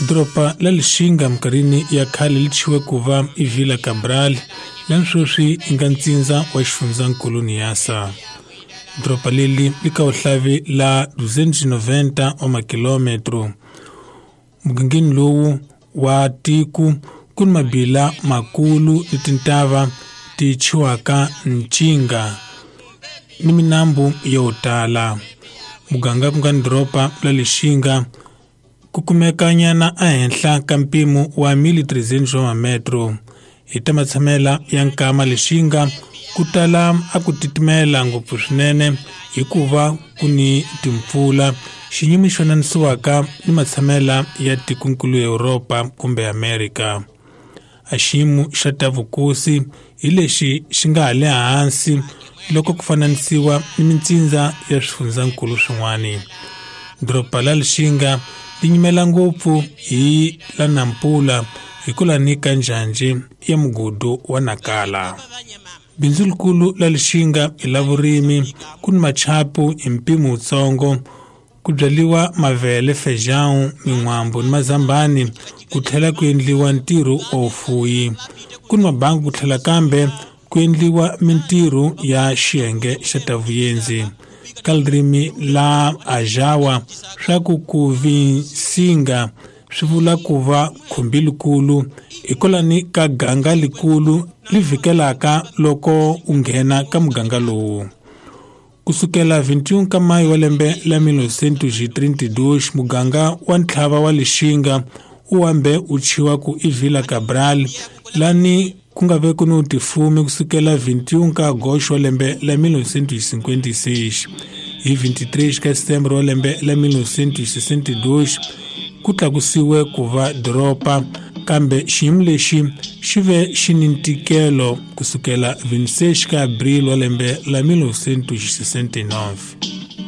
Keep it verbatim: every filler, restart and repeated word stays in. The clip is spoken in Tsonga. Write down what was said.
Doroba la Lixinga minkarhini ya khale li thyiwe ku va i Vila Cabral, lani sweswi yi nga ntsindza wa xifundzankulu Niassa. Doroba leli li ka vuhlavi la duzentos e noventa wa makilometro. Mugangeni lowu wa tiko ku ni mabila makulu ni tintava ti thyiwaka Ncinga ni minambu yo tala. Muganga ku nga ni doroba la Lixinga ku kumekanyana ehenhla ka mpimo wa mil e trezentos wa mametro. Hi ta matshamela ya nkama Lixinga ku tala a ku titimela ngopfu swinene hikuva ku ni timpfula, xinyimi xi fananisiwaka ni matshamela ya tikonkulu ya Yuropa kumbe Amerika. A xiyimo xa ta vukosi hi lexi xi nga ha le hansi loko ku fananisiwa ni mintsindza ya swifundzankulu swin'wana. Doroba la Lixinga li nyimela ngopfu hi la Nampula hikwalaho ka njhanjhe ya mugudu wa Nakala. Bindzu likulu la Lixinga i la vurimi, ku ni machapu hi mpimo wutsongo, ku byariwa mavele, feijão, min'wambu ni mazambani, ku tlhela ku endliwa ntirho wa vufuwi. Ku ni mabangi ku tlhela kambe ku endliwa mintirho ya xiyenge xa ta vuyenzi. Ka ririmi la Ajawa swa ku ku vinsinga swi vula ku va khumbi likulu, hikwalaho ka ganga likulu li vhikelaka loko u nghena ka muganga lowu. Kusukela vinte e um ka mayi wa lembe la mil novecentos e trinta e dois, muganga wa ntlhava wa Lixinga wu hambe wu thyiwa ku i Vila Cabral, lani ku nga ve ku ni tifumi kusukela vinte e um ka agosto wa lembe la mil novecentos e cinquenta e seis. Hi vinte e três ka setembro wa lembe la mil novecentos e sessenta e dois ku tlakusiwe ku va doroba, kambe xiyimo lexi xi ve xi ni ntikelo kusukela vinte e seis ka abril wa lembe la mil novecentos e sessenta e nove.